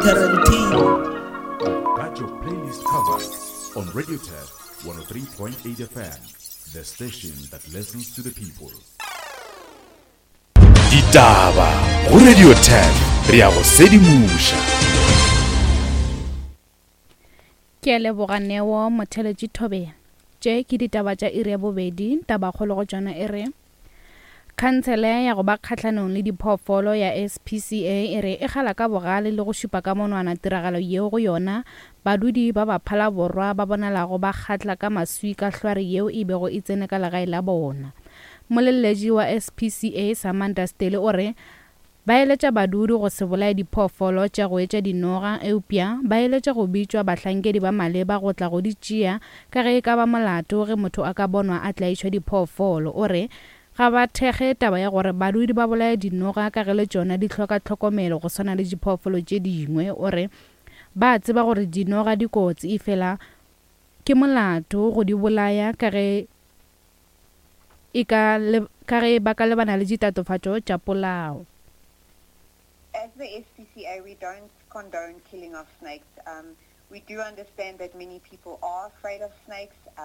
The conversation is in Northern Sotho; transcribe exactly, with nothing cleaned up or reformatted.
Tarantino. Got your playlist covered on Radio Turf one oh three point eight F M, the station that listens to the people. Ditaba go Radio Turf, re a go sedimoša. Ke a leboga Neo Motheletši Thobela. Tše ke ditaba tša iri ya bobedi, tabakgolo go tšona e re Khansele ya go ba kgahlanong le diphoofolo ya S P C A e re e kgala ka bogale le go šupa ka monwana tiragalo yeo go yona badudi ba ba Phalaborwa ba bonalago ba kgatla ka maswi ka hlware yeo e bego e tsene ka legae la bona. Molelletši wa S P C A Samantha Stele o re ba eletša badudi go se bolaye diphoofolo tša go etša dinoga, eupša ba eletša go bitšwa bahlankedi ba maleba go tla go di tšea ka ge e ka ba molato ge motho a ka bonwa a tlaišwa diphoofolo. O re ga ba thekge taba ya gore badudi ba bolaye dinoga ka ge le tšona di hloka tlhokomelo go swana le diphoofolo tše dingwe. O re ba tseba gore dinoga di kotsi, efela ke molato go di bolaya ka ge e ka le, ka ge ba ka lebana le ditatofatšo tša polao. As the S P C A, we don't condone killing of snakes. Um, we do understand that many people are afraid of snakes. Uh,